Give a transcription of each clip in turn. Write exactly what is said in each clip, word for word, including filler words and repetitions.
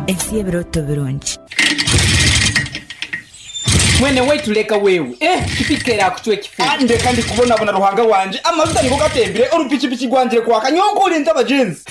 Ensi y'ebirooto birungi. Mwene waitu leka wewe, eh pikipiki erakucwa ekifu. Ndeka ndikubonabona Ruhanga wanje, amajuta nigo gatembire, orupikipiki rwangire kwaka, nyowe nkurinze abagenzi.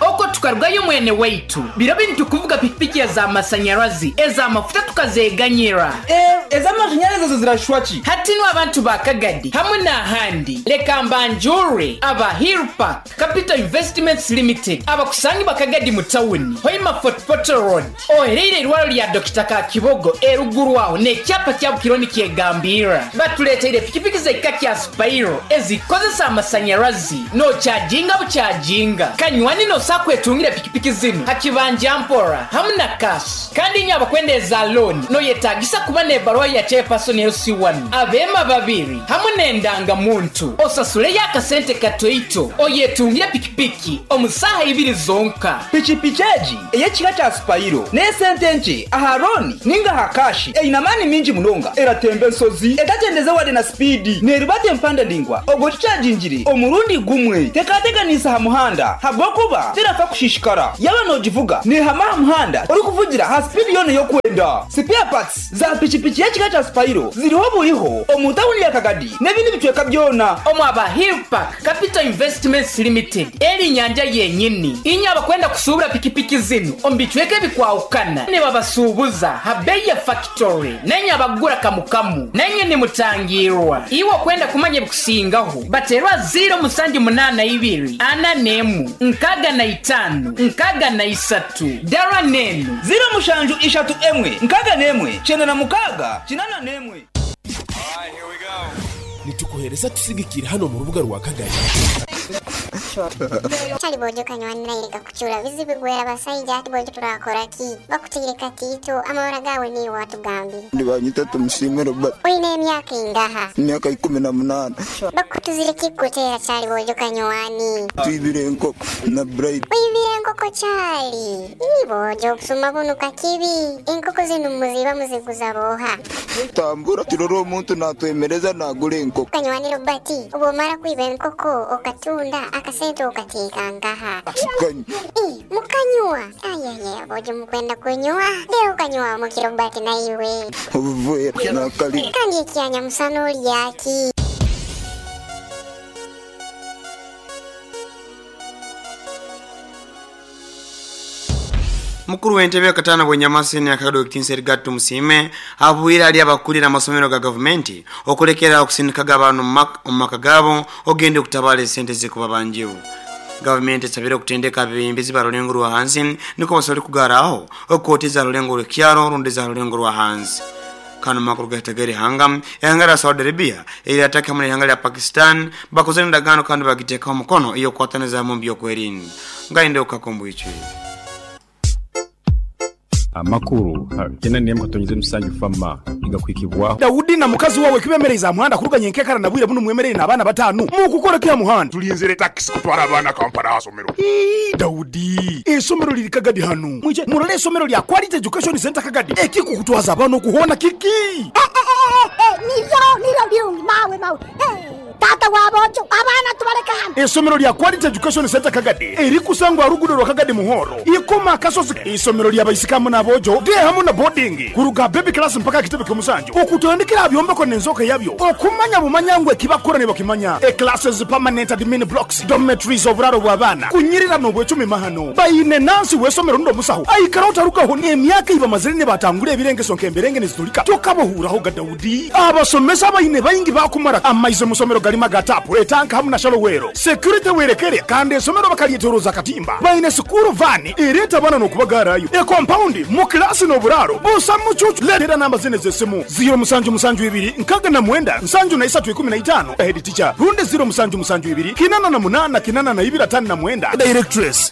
Okwo tukarugayo mwene waitu, biro binu tukuvuga pikipiki ez'amasanyarazi, ez'amafuta tukazeganyira. Eh, ez'amashanyarazi ezo zirashwa ki? Hati nu abantu ba Kagadi hamwe n'ahandi, leka mbanjure aba Hill Park Capital Investments Limited, abakusangi ba Kagadi mu tawuni, Hoima Fort Portal Road, ohereire irwaro lya Dokita Kakibogo eruguru aho n'ekyapa kya Bukironi kyegambira. Batuleteire pikipiki z'ekika kya Spiro ezikozesa amasanyarazi nokyajinga bukyajinga. Kanywani nosa kwetungira pikipiki zinu hakibanja mpora hamwe na cash. Kandi inye abakwenda eza loan noyetagisa kuba n'ebaruwa ya chairperson L C one, abema babiri hamwe n'endangamuntu, osasuleyo akasente katoito oyetungire pikipiki omusaha ibiri zonka. Pikipiki egi ey'ekika kya Spiro n'esente nkye aha loan ninga aha cash eine amaani mingi munonga, eratemba ensozi etakyendeze wade na speed, nerubata empanda ndingwa ogwo kikyagingire omurundi gumwe, tekateganisa aha muhanda habwokuba terafa kushishikara. Yaba nogivuga nehama aha muhanda orikuvugira ha speed yona ey'okwenda. Spare parts za pikipiki y'ekika kya Spiro ziriho buriho omu tawuni ya Kagadi n'ebindi bicweka byona. Omu aba Hill Park Capital Investments Limited eri nyanja yenyini inye abakwenda kusubura pikipiki zinu omu bicweka ebikwahukana nibabasuubuza ha bei ya factory, nenye abagura kamukamu nenye nimutangirwa. Iwe okwenda kumanya ebikusingaho baterwa ziro musanju munana ibiri ana nemu nkaga na itanu nkaga na isatu dara nenu ziro mushanju ishatu emwe nkaga nemwe chenda na mukaga chinana nemwe. Nitukuhereza tusigikira hano mu rubuga rwa Kagari. Chali bojo kanywanira ireka kuchura bizibu gwera basayija ati bojo turakora ki bakutigire katito amahora gawe ni watugambire. Ndi banyita Tumusiime Robert. Oine emyaka ingaha? Emyaka ikumi na munana. Bakutuzire kikutera chali bojo kanywani? Twibire enkoko na Bright. Wibire enkoko chali? Ni bojo okusuma bunuka kibi. Enkoko zinu muziba muziguza boha. Tambura turore omuntu natwemereza nagura enkoko. Kanywani Robert, obwomara kwiba enkoko okatunda akasente okateeka nkaha? Kanywa. Eh, mukanywa. Ayaya, bojo mukwenda kunywa. Leo kanywa muki Robert na iwe. Obuvuye nakali. Kandi ekyanya musana olyaki. Mukuru w'entebe katana bwenyamasi akagado kinseri gatu musime abuira ali abakulira amasomero ga government okulekera okusindika abantu mu maka gabo ogende okutabala sente zikuba banjibu. Government esabire okutendeka abebembezi barulengo rwa hansi niko basole kugaraho okoteza rulengo rw'ekyaro rundeza rulengo rwa hansi. Kano makuru gategere hanga ihanga la Saudi Arabia iliataka mu ihanga la Pakistan bakoze ndagano kandi bagiteka omukono iyo kwataneza mu byokwerinda ngainde ukakombo ichi. Amakuru tena niye mkatonyize musanju fama igakwikibwa Daudi na mukazi wawe kibemereza muhanda kuruganye nkekara nabwire buno mwemerere n'abana batanu mu kukora kya muhanda tulinzire taxi kutwara abana Kampala asomero. Ii Daudi esomero liri Kagadi hano mwije murole esomero lya Quality Education Center Kagadi ekikukutwaza abana kuhona kiki nivyo nivyo birungi mawe mawe tata wabojo abana tubareka hano. Esomero lya Quality Education Center Kagadi eri kusangwa rugudo rwa Kagadi muhoro ikoma kasozi. Isomero lya baisikamu nabojo de hamwe na boarding kuruga baby class mpaka kitebe kyomusanju okutandikira byombeko nenzoka yabyo okumanya bumanyangwe kibakora ne bakimanya e classes permanent admin blocks dormitories oburaro bw'abana kunyirira no bwecumi mahano bayine nansi wesomero ndo musaho aikara utarukaho ne emyaka iba mazire ne batangure ebirenge sonke emberenge nizitulika tokabohuraho ga Daudi abasomesa bayine bayingi bakumara amaize musomero galima gatapu etanka hamwe na shalowero security werekere kandi esomero bakalietoroza katimba bayine sukuru vani ireta bana no kubagarayo e compound mu class no buraro busa mucucu letera namba zine zesimu zero musanju musanju ibiri nkaga na mwenda nsanju na isatu ikumi na itano head teacher runde zero musanju musanju ibiri kinana na munana kinana na ibira tano na mwenda directress.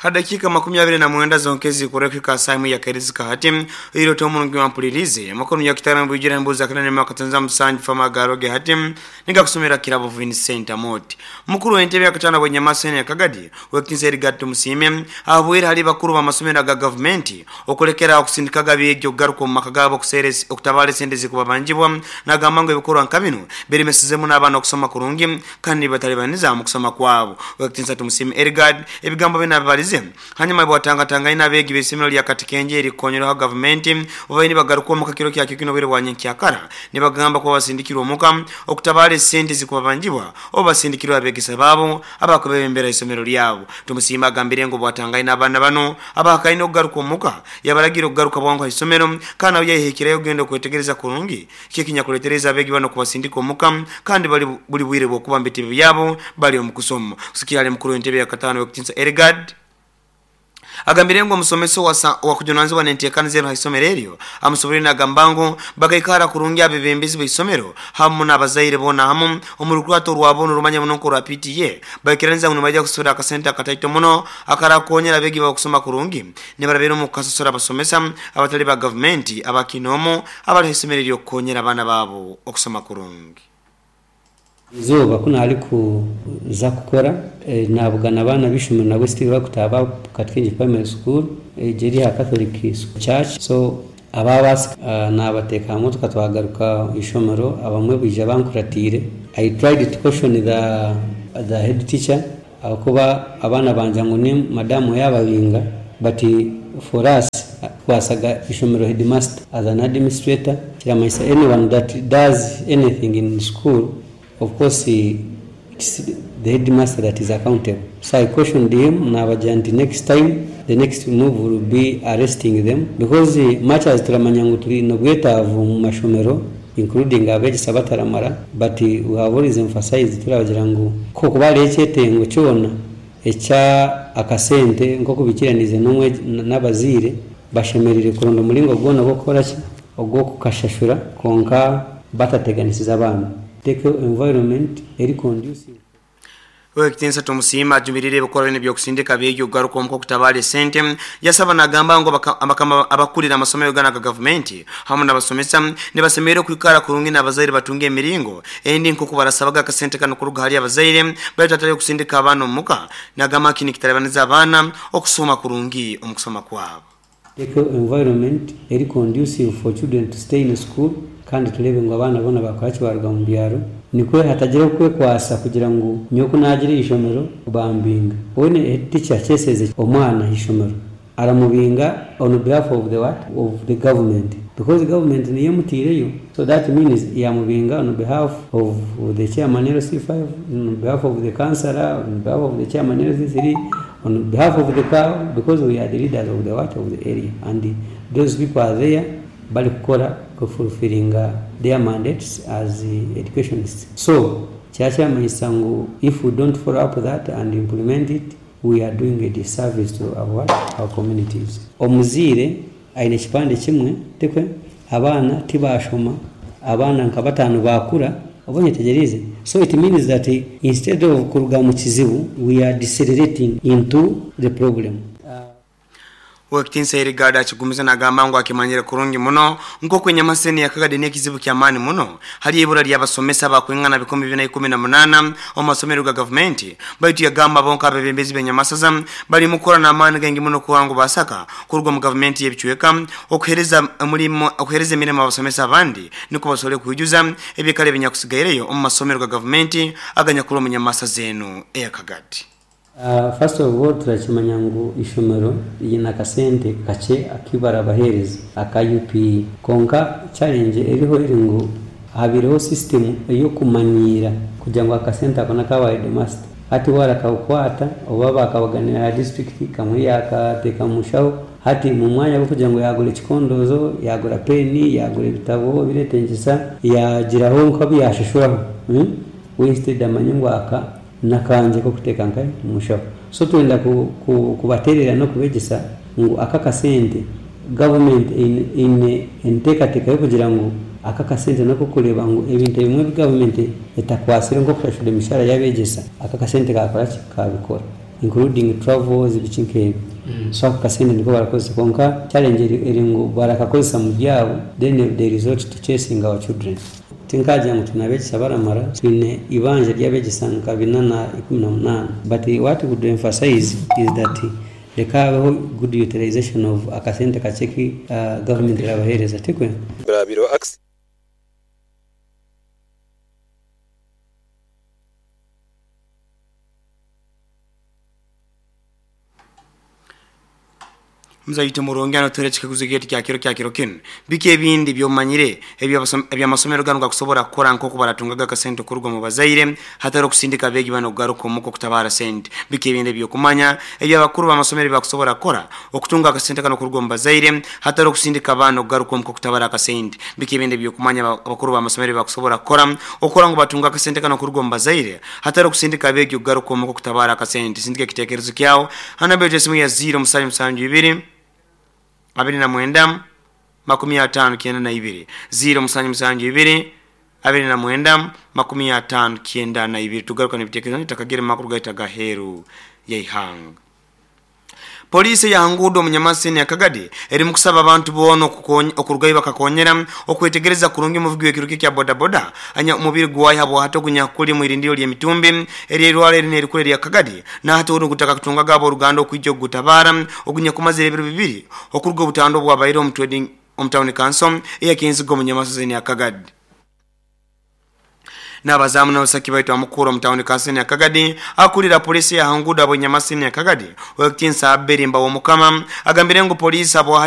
Hadakika makumi abiri na mwenda zonkezi kurekika saimu ya kerizika hati ilo tomu ngi wampulirize makono ya kitara mbujira mbuza kana nema katanza musanji fama garoge hati ninga kusomera kirabo Vincent Amoti mukuru w'entebe yakatana bwenyamasene ya Kagadi wekinse Erigato Musime abwira hali bakuru ba masomero ga government okulekera okusindikaga byejo garuko makagabo kuseres okutabale sendezi kubabanjibwa nagamba ngo ebikorwa nkabino berimesezemu n'abana okusoma kurungi kandi batalibaniza mu kusoma kwabo. Wekinse Musime Erigad ebigambo binabalize hanyuma bwatanga ina begi besemero lya Katikenje erikonyera government obaini bagaruka mu kakiro kya kikino bire bwanye kyakara nibagamba ko basindikirwa omuka okutabale sente zikubabanjibwa obasindikirwa abegesa babo abakobembera isomero lyabo. Tumusima agambire ngo bwatanga ina abana bano abakaina okugaruka omuka yabalagira okugaruka bwangu isomero kana yayehekireyo gendo kwetegereza kurungi kikinyakuletereza abegi bano kubasindika omuka kandi bali buli bwire bwokuba mbiti byabo bali omukusoma kusikia ali mukuru w'entebe ya katano wekitinsa Erigad agambire ngo musomeso wa kujunanzwa n'enteekaniza zero haisomero eryo amusobere nagambango bagaikara kurungi abebembezi b'isomero hamu n'abazaire bona hamu omurukwato rwabo rumanya muno ko rwa P T A bakiranza ngo bajya kusura akasenta akataito muno akarakonyera abegi bakusoma kurungi nibarabera mu kasosora abasomesa abatali ba government abakinomo abali haisomero eryo konyera abana babo okusoma kurungi. Izuba kuna ali kuza kukora e, nabugana abana b'ishomero nabwo Steve bakutaba Katikenje Primary School e, jeri ha Catholic Church so ababasi uh, nabateka hamwe tukatwagaruka ishomero abamwe bwija bankuratire. I tried to caution the the head teacher akuba abana banja ngo ni madamu yababinga, but for us kwasaga ishomero headmaster as an administrator kiramanyisa anyone that does anything in school, of course he, it's the headmaster that is accountable. So I cautioned him, nabagira next time, the next move will be arresting them because much as turamanya ngu turi nobwetaavu mu mashomero including abegesa bataramara, but we have always emphasized turabagira ngu ko kuba ari ekyetengo kyona ekya akasente nk'okubikiranize n'omwe n'abaziire bashemerire kuronda omuringo gwona gw'okukora ki ogw'okukashashura konka batateganisiza abaana. Take environment eri conducive. Wekitinsa Tumusima ajumirire bukora bino byokusindika byejo garuko omko kutabale sente yasaba nagamba ngo abakama abakulira amasomero gana ga government hamwe n'abasomesa nibasemere kwikara kurungi n'abazaire batunge emiringo endi nko barasabaga akasente kano kuruga hali abazaire baitu atali kusindika abana omuka nagamba kini kitalabaniza abana okusoma kurungi omukusoma kwabo. Take environment eri conducive for children to stay in school kandi turebe ngo abana bona bakora kibaruga mu byaro nikwe hatagira kwekwasa kugira ngo nyoko nagire ishomero bambinga one teacher cheseze omwana ishomero aramubinga on behalf of the what of the government because the government niyo mutireyo, so that means yamubinga on behalf of the chairman L C five, on behalf of the councillor, on behalf of the chairman L C three, on behalf of the cow, because we are the leaders of the what of the area and the, those people are there bali kukora fulfilling their mandates as educationists. So kyakyamanyiisa ngu if we don't follow up that and implement it, we are doing a disservice to our, our communities. Omuziire aine ekipande kimwe tikwe abaana tibashoma abaana nka bataano bakura obonye tegerize. So it means that instead of kuruga mu kizibu we are decelerating into the problem. Wekitinsa Erigada akigumiza nagamba ngo akimanyire kurungi muno nko kwenyamaseni yakagade n'ekizibu kya maani muno hali ibura ly'abasomesa bakwingana bikumi bina ikumi na munana omu masomero ga government baitu yagamba bonka abebembezi b'enyamasaza bali mukora n'amaani gengi muno kuwangu basaka kuruga mu government y'ebichweka okuhereza omulimo okuhereza emirimo abasomesa abandi niko basole kujuza ebikale binyakusigaireyo omu masomero ga government aganyakuru mu nyamasa zenu eyakagadi. Uh, first of all turakimanya ngu ishomero ryina akasente kache akibara abahereza aka U P konka challenge eriho eri ngu habireho system eyokumanyira kugira ngu akasente ako nakaba headmaster hati warakakwata oba bakabaganira district kamwe yakateka mushaho hati mu mwanya wo kugira ngo yagura ekikondozo yagura peni yagura ebitabo biretengesa yagiraho nko byashishuraho hmm? We instead amanye ngu aka nakanje ko kuteka nkai mushaho. So twenda ku, ku, kubaterera no kubegesa ngu aka kasente government in in entekateka yo kugira ngu aka kasente nako kureba ngu ebintu ebimwe government etakwasire nko kushashura emishahara y'abegesa aka kasente kakora ki kabikora. Including travels, biki nk'ebyo. So ako kasente niko barakozesa, konka challenge eri eri ngu barakakozesa mu byabo, then they resort to chasing our children. Tinkagira ngu tunabegesa baramara, twine ibanja ry'abegesa nka bina na ikumi na munaana, but what we would emphasize is that leka habeho good utilization of akasente kakye uh, government erabahereza, tikwe? Birabiro. Mzaite murungi anotore chikaguzo geti kya kiro kya kiro kinu. Biki ebindi byomanyire ebyamasomero gano gakusobora kukora nk'oku baratungaga akasente kuruga mu bazaire hatari okusindika abeegi bano kugaruka omuka okutabara sente? Biki ebindi ebyokumanya ebyabakuru b'amasomero bakusobora kukora okutunga akasente kano kuruga mu bazaire hatari okusindika abaana okugaruka omuka okutabara akasente? Biki ebindi ebyokumanya abakuru b'amasomero bakusobora kukora okukora ngu batunga akasente kano kuruga mu bazaire hatari okusindika abeegi okugaruka omuka okutabara akasente? Sindika ekitekerezo kyawo hana esimu ya zero musanju musanju ibiri abiri na mwenda makumi atano kienda na ibiri, zero musanju musanju ibiri abiri na mwenda makumi atano kienda na ibiri. Tugaruka n'ebitekerezo nitakagere makuru gaita gaheru yaihanga. Polisi ya Hangudo Munyamasini ya Kagadi eri mukusaba abantu bono okurugayo bakakonyera okwetegereza kurungi muvugi w'ekiruki kya boda boda anya umubiri gwayi habo hato gunyakuli mu irindiro lya mitumbi eri erwale eri erikule lya Kagadi na hato uru gutaka kutunga gabo oruganda okwijja ogutabara ogunyakumazira ebiro bibiri okuruga obutando bwabaire omu trading omu town council eyakinzigo Munyamasini ya Kagadi. N'abazamu n'abasaki baitu amukuru omu town council ya Kagadi akulira polisi ya Hangudo abo Nyamasini ya Kagadi wekitinsa aberimba w'omukama agambire ngu polisi abo